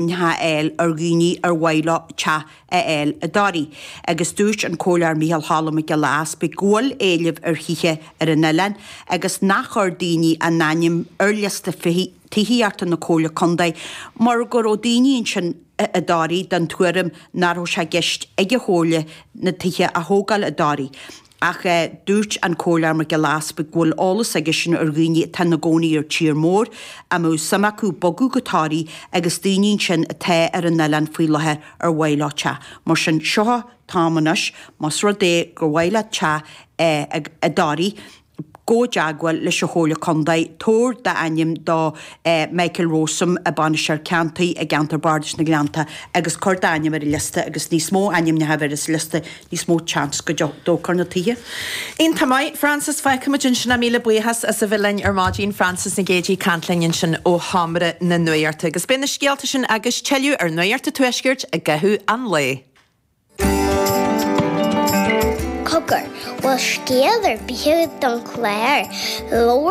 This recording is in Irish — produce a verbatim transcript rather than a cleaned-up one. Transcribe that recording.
a fháil ar dhaoine ar mhaith leo teach a fháil i dToraigh. Agus dúirt an Comhairleoir Micheál Cholm Mac Giolla Easpaig go bhfuil éileamh ar thithe ar an oileán agus nach chuir daoine a n-ainm ar liosta tithíochta na Comhairle Contae mar go raibh daoine ansin i dToraigh den tuairim nach raibh sé i gceist ag an Chomhairle na tithe a thógáil i dToraigh. Ach dúirt an Comhairleoir Mac Giolla Easpaig go bhfuil eolas aigesean ar dhaoine atá ina gcónaí ar tír mór, a mbeadh suim acu bogadh go Toraigh agus daoine ansin atá ar an oileán faoi láthair ar mhaith leo teach. Mar sin, seo an t-am anois, más rud é gur mhaith leat teach i dToraigh, gabh i dteagmháil leis an Chomhairle Contae, tabhair d'ainm do Michael Rowsome, Bainisteoir Ceantair i gCeantar Bardais na nGleannta agus cuir d'ainm ar an liosta agus níos mó ainmneacha a bheidh ar an liosta, níos mó seans go dtógfar na tithe. Iontach maith, Frances, fágfaimid ansin é. Míle buíochas as a bheith linn ar maidin, Frances Nic Géadaigh ag caint linn ansin ó Sheomra na Nuachta. Agus beidh na scéalta sin agus tuilleadh ar Nuacht an Tuaiscirt i gcaitheamh an lae. Cogar, bhfuil scéal ar bith agat don chlár? Labhair